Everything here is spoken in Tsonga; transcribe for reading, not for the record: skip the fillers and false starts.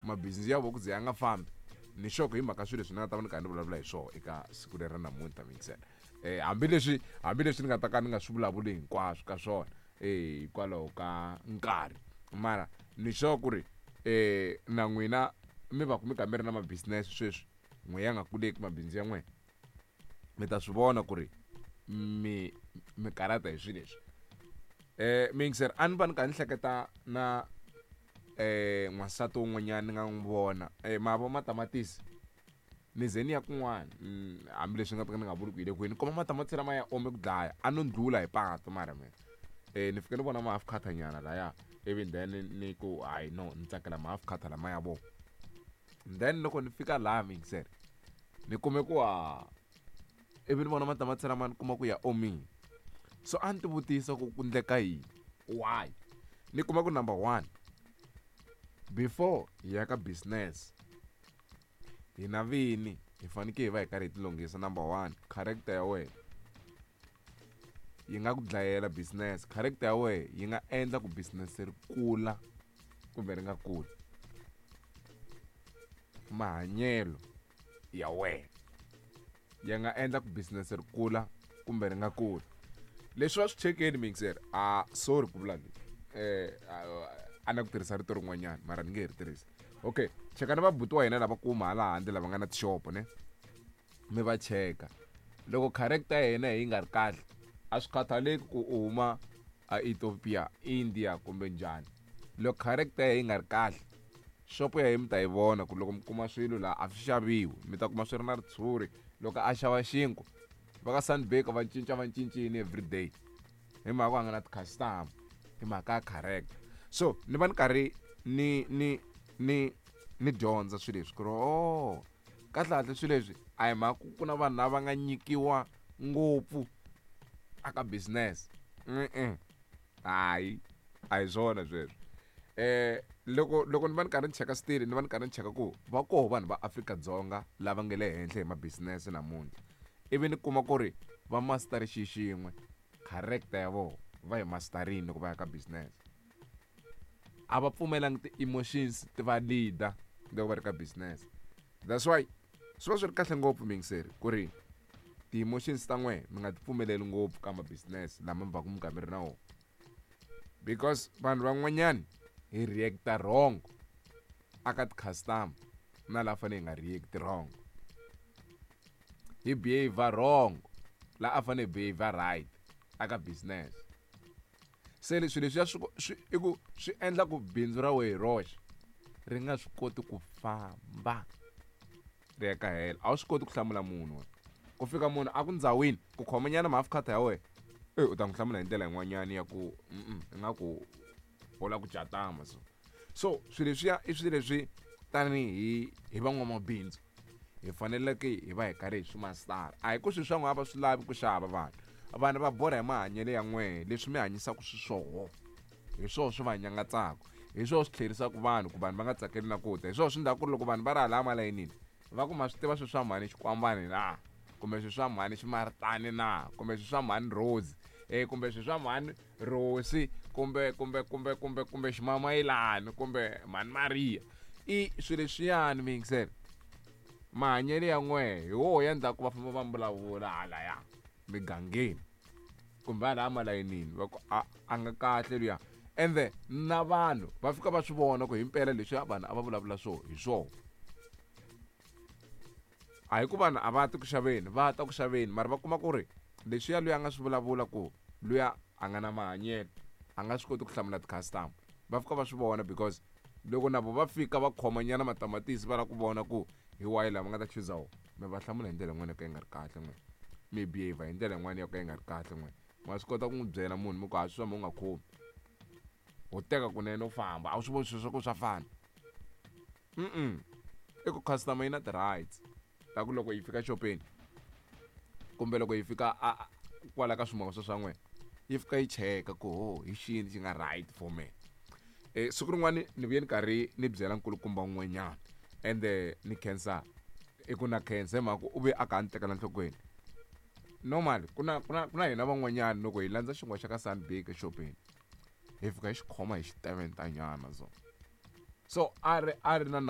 Mabindzu ya vona ku ze ya nga fambi ni sure ku hi mhaka swilo leswi ni nga ta va ni karhi ni vulavula hi swona eka siku leri ra namuntlha mixer. Hambileswi ni nga ta ka ni nga swi vulavuli hinkwaswo ka swona hikwalaho ka nkarhi, mara ni sure ku ri na n'wina mi va ku mi karhi mi ri na ma-business sweswi n'we ya nga kuleki mabindzu ya n'wina, mi ta swi vona ku ri mi karhata hi swilo leswi. Mixer, a ni va ni karhi ni hleketa na n'wansati wun'wanyana ni nga n'wi vona mavo matamatisi ni ze ni ya kun'wana, hambileswi ni nga ta ka ni nga vuli ku hi le kwini, ni kuma matamatisi lama ya ome ku dlaya, a no ndlula hi patu, mara mina ni fike ni vona ma half cutter nyana laya, ivi then ni ku hayi no, ni tsakela ma half cutter lama ya vona. Then loko ni fika laha mixer ni kume ku ha ivi ni vona matamatisi lama ni kuma ku ya omile, so a ni ti vutisa ku ku ndleka yini, why. Ni kuma ku number one, before hi ya ka business hina vini hi fanekele hi va hi karhi hi tilunghisa. Number one, character ya wena yi nga ku dlayela business. Character ya wena yi nga endla ku business ri kula kumbe ri nga kuli. Mahanyelo ya wena ya nga endla ku business ri kula kumbe ri nga kuli. Leswi va swi chekeni mixer, a sorry ku vula leswi, a na ku tirhisa rito rin'wanyana mara ni nge he ri tirhisi. Okay, chekani vabuti wa hina lava kuma hala handle lava nga na tixopo ne, mi va cheka loko character ya yena yi nga ri kahle. A swi khathaleki ku u huma a Ethiopia, India kumbe njhani, loko character ya yi nga ri kahle, xopo ya yi mi ta yi vona ku loko mi kuma swilo laha a swi xaviwi, mi ta kuma swi ri na ritshuri. Loko a xava xinkwa va ka Sunbake va cinca va cincini everyday hi mhaka ku a nga na ti-customer, hi mhaka ya character. So ni va ni karhi ni dyondza swilo leswi ku ri oh, kahlekahle swilo leswi a hi mhaka ku na vanhu lava nga nyikiwa ngopfu aka business. Hayi, a hi swona sweswo. Loko ni va ni karhi ni cheka still, ni va ni karhi ni cheka ku va koho vanhu va Afrika-Dzonga lava nga le henhla hi ma-business namuntlha, ivi ni kuma ku ri va master xi xin'we, character ya vona va hi masterini loko va ya ka business. A va pfumelangi ti-emotions ti va leader loko va ri ka business. That's why swi va swi ri kahle ngopfu mixer ku ri ti-emotions ta n'wehe mi nga ti pfumeleli ngopfu ka ma-business lama mi va ku mi karhi mi ri na wona, because vanhu van'wanyani hi reacta wrong aka ti-customer na laha fanele hi nga react wrong, hi behave wrong la a fanele hi behave right aka business. Se leswi leswiya swi i ku swi endla ku bindzu ra wehe hi roxe ri nga swi koti ku famba ri ya ka hela. A wu swi koti ku hlamula munhu wena. Ku fika munhu a ku ndzawini ku khomanyana ma-half cutter ya wena, u ta n'wi hlamula hi ndlela yin'wanyana ya ku ingaku u lava ku jatama. So swilo leswiya i swilo leswi tanihi hi van'wamabindzu hi faneleke hi va hi karhi hi swi mastara. A hi ku swilo swa n'wina va swi lavi ku xava vanhu, vanhu va borha hi mahanyelo ya n'wehe, leswi mi hanyisaka xiswona hi swona swi va nyangatsaka, hi swona swi tlherisaka vanhu ku vanhu va nga tsakeli na ku ta. Hi swona swi endlaka ku ri loko vanhu va ri hala malayinini va ku ma swi tiva swilo swa mhani xikwambani na, kumbe swilo swa mhani ximaritani na, kumbe swilo swa mhani Rose, kumbe swilo swa mhani Rosi, kumbe kumbe kumbe kumbe kumbe ximamayilani, kumbe mhani Maria. I swilo leswiyani mi yingisela mahanyelo ya n'wehe hi woho ya endlaku va famba va vulavula halaya migangeni kumbe halaya malayinini va ku a nga kahle luya, ende na vanhu va fika va swi vona ku himpela leswi vanhu a va vulavula swona hi swona. A hi ku vanhu a va ti ku xaveni, va ta ku xaveni, mara va kuma ku ri leswiya luya a nga swi vulavula ku luya a nga na mahanyelo, a nga swi koti ku hlamula ti-customer, va fika va swi vona. Because loko na vo va fika va khomanyana matamatisi va lava ku vona ku hi wahi lama nga ta chuza wona, mi va hlamula hi ndlela yin'wana yo ka yi nga ri kahle n'we, mi behave hi ndlela yin'wana yo ka yi nga ri kahle n'we. Ma swi kota ku n'wi byela munhu mi ku ha swi swa u nga khomi, ho teka kunene u famba, a wu swi voni swilo swa ku swa fana. I ku customer yi na ti-rights ta ku loko yi fika xopeni kumbe loko yi fika a kwala ka swimovha swa n'wina, yi fika yi cheka ku ho hi xini xi nga right for me. Siku rin'wani ni vuye ni karhi ni byela nkulukumba un'wanyana, ende ni khensa, i ku na khensa hi mhaka ku u ve a kha a ni tekela nhlokweni. Normally ku na hina van'wanyana loko hi landza xinkwa xa ka Sunbake exopeni hi fika hi xi khoma hi xiteventanyana, so a ri na nawu.